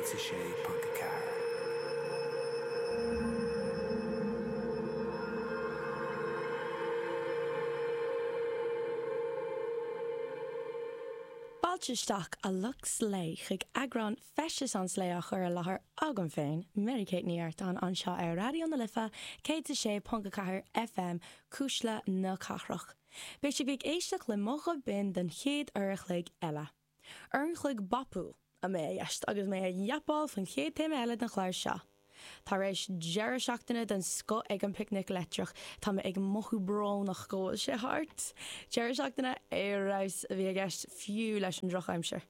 106.4. Fáilte isteach a lucht slé chuig eagrán Feisteas an tSlé á chur i láthair agam féin, Mary Kate Ní Artáin, anseo ar Raidió na Life 106.4 FM, Cuisle na Cathrach. Beidh sibh ag éisteacht le mo ghuth binn don chéad uair a chloig eile. Uair an chloig bopúil a mbeidh i gceist agus mé ag yapáil faoin chéad téama eile den chlár seo. Tar éis deireadh seachtaine den scoth ag an bPicnic Leictreach, tá mé ag mothú brónach go bhfuil sé thart. Deireadh seachtaine ar fheabhas a bhí i gceist fiú leis an drochaimsir.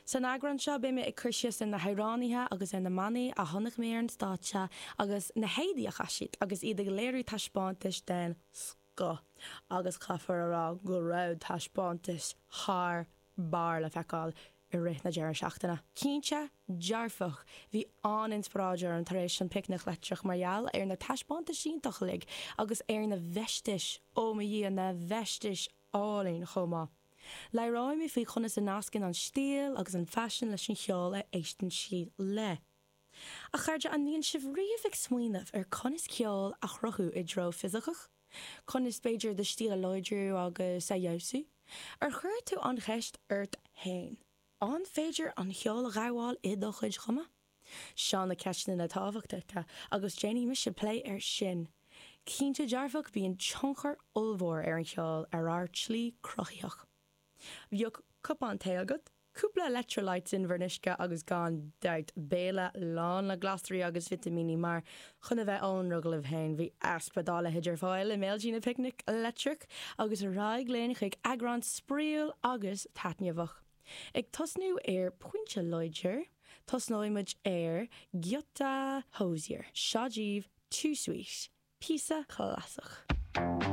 San eagrán seo beidh mé ag cur síos ar na hamhránaithe agus ar na mbannaí a chonaic mé ar an stáitse agus na héadaí a chaith siad agus iad ag léiriú taispeántais den scoth agus caithfear a rá go raibh taispeántais thar barr le feiceáil i rith na deireadh seachtaine. Cinnte dearfach, bhí an-inspioráid orm tar éis an Picnic Leictreach mar gheall ar na taispeántais iontach uilig agus ar na feistis, ó mo Dhia, na feistis álainn chomh maith. Labhróidh mé faoi conas a nascann an stíl agus an faisean leis an cheol a éisteann siad le. A chairde, an mbíonn sibh riamh ag smaoineamh ar conas ceol a chruthú i dtreo fisiceach? Conas, b'fhéidir, do stíl a láidriú agus a fheabhsú? Ar chuir tú an cheist ort fhéin, an féidir an cheol a ghabháil i do chuid chumadh? Seo na ceisteanna tábhachtacha agus déanfaidh mise plé air sin. Cinnte dearfach bíonn tionchar ollmhór ar an cheol ar ár tslí cruthaitheach. Bheadh cupán tae agat, cúpla electrolytes in bhur n-uisce agus gan dabht béile lán le glasraí agus vitimíní mar, chun a bheith ionraic libh féin, bhí easpa dá leithéid ar fáil i mbéiltí na Picnic Leictreach agus ar aghaidh linn chuig eagrán spraíúil agus taitneamhach. Ag tosnú ar pointe láidir, tosnóidh muid ar giota Hozier. Seo daoibh Too Sweet, píosa clasach.